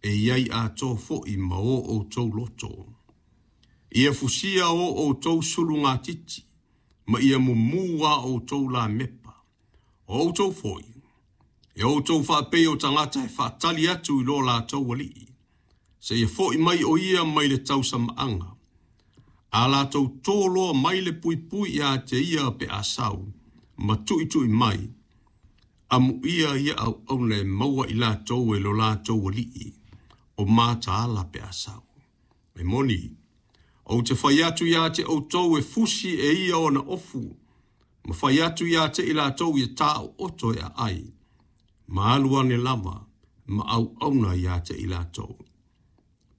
e i ai atoa foi ma o outou loto. Ia fusia o outou sulugatiti, ma ia mumu a outou lamepa. O outou foi, e outou faapei o tagata e faatali atu i lo latou alii, seia fo'i mai o ia mai le tausamaaga. A latou toloa mai le puipui ia te ia pe a sau, ma tuitui mai, amuia ia auauna e maua i latou e lo latou alii, o mataala pe a sau. E moni, ou te fai atu ia te outou e fusi e ia ona ofu, ma fai atu ia te i latou ia taooto e aai, ma alu ane lava, ma auauna ia te i latou.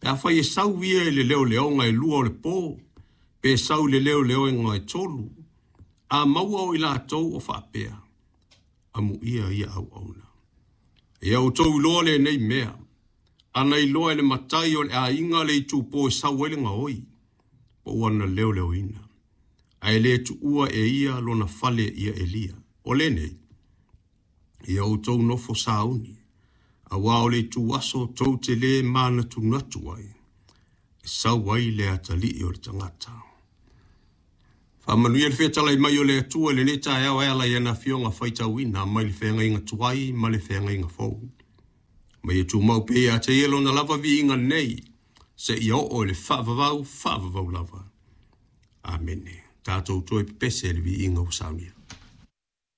Pe afai e sau ia i le leoleoga e 2 o le po, pe sau i le leoleoga e 3, a maua o i latou o faapea, amuia ia auauna. Ia outou iloa lenei mea, ana iloa e le matai o le aiga le itupo e sau ai le gaoi, po ua na leoleoina, ae le tuua e ia lona fale ia elia. O lenei, ia outou nofo sauni, aua o le ituaso tou te le manatunatu ai, e sau ai le atalii o le tagata. Faamanuia le fetalai mai o le Atua i lenei taeao e ala i ana afioga faitauina mai le feagaiga tuai ma le feagaiga fou. Ma ia tumau pea ia te ia lona lava viiga nei, seia oo i le faavavau, faavavau lava. Amene. Tatou toe pepese i le viiga ua saunia.